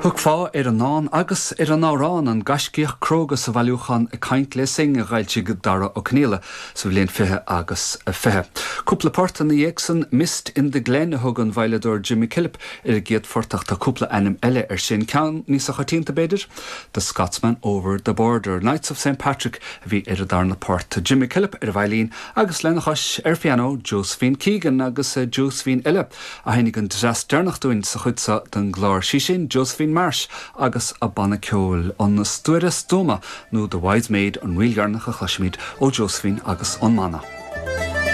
Thiocfá ar an ndán agus ar an amhrán 'An Gaiscíoch Cróga' sa bhailiúchán Ag Caint le Synge a d'fhoilsigh Dara Ó Conaola sa bhliain 20 agus 20. Cúpla port ina dhiaidh san, 'Mist in the Glen' a thug an veidhleadóir Jim McKillop ar an gcéad phort ach tá cúpla ainm eile air sin. Ceann níosa choitianta b'fhéidir? 'The Scotsman Over the Border'. 'Knights of St Patrick' a bhí ar an darna port. Jim McKillop ar an veidhlín agus lena chois ar phianó Josephine Keegan agus Josephine eile a sheinnfidh an dreas deireanach dúinn sa chuid seo den gclár, sí sin Josephine Marsh agus a banna ceoil, An Stuaire Stuama nó The Wise Maid an ríl dheireanach a chloisfimid ó Josephine agus an mbanna.